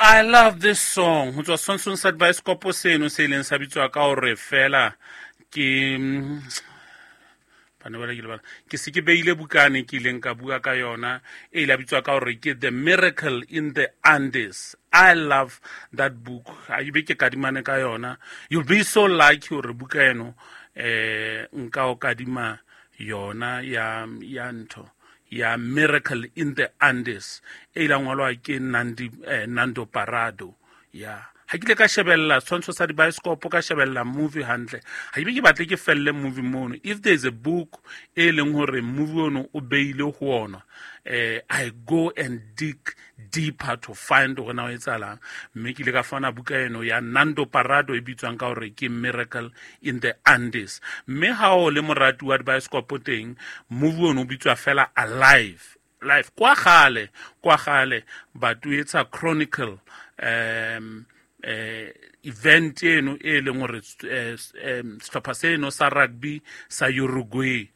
I love this song ho tswa Sonson sa bioscope seno se ileng sa bitswa ka hore fela ke bana ba le bana ke se ke beile bukane ke ileng ka bua ka yona e ile bitswa ka hore ke The Miracle in the Andes. I love that book. A be ke kadimane ka yona. You'll be so lucky hore buka eno nka o kadima yona ya ntho ya Miracle in the Andes e ile ngwalwa ke Nandi Nando Parado. Ya ha ke ile ka shebella tshwantsho sa di-bioscope, ka shebella movie hantle, ha ke be ke batle ke felle movie mono. If there is a book e leng hore movie ono o beile ho ona, I go and dig deeper to find hore na o etsahalang. Mme ke ile ka fana buka eno ya Nando Parado e bitswang ka hore ke Miracle in the Andes. Mme ha o le morati wa di-bioscope teng, movie ono o bitswa fela Alive. Life kwa gale but etsa chronicle event eno e leng hore sehlopha seno sa rugby sa Uruguay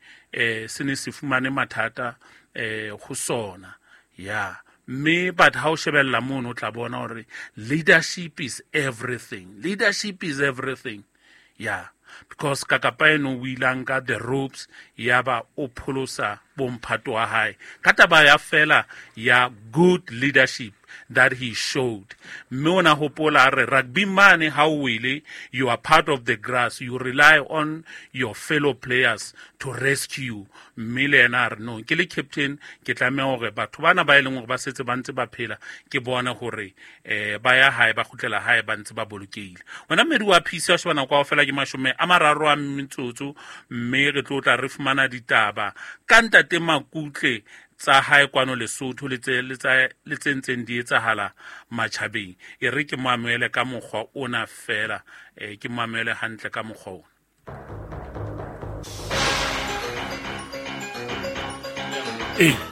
se ne se fumane mathata ho sona. Ya mme but ha o shebella mono o tla bona hore leadership is everything. Leadership is everything. Yeah, because kakapa eno o ile a nka the ropes ya ba o pholosa bomphato wa hae ka taba ya fela ya good leadership that he showed. Mme o na hopola re rugby mane ha o wele, you are part of the grass, you rely on your fellow players to rescue. Mme le yena a re no, ke le captain ke tlameha hore batho bana ba e leng hore ba setse ba ntse ba phela ke bone hore ba ya hae, ba kgutlela hae ba ntse ba bolokehile. Wena mmedi wa PC wa shebana kwa fela ke 30 metsotso, mme re tlo tla re fumana ditaba ka ntate Makutle tsa hae kwano Lesotho le tse ntseng di etsahala matjhabeng. E re ke mo amohele ka mokgwa ona fela, ke mo amohele hantle ka mokgwa ona.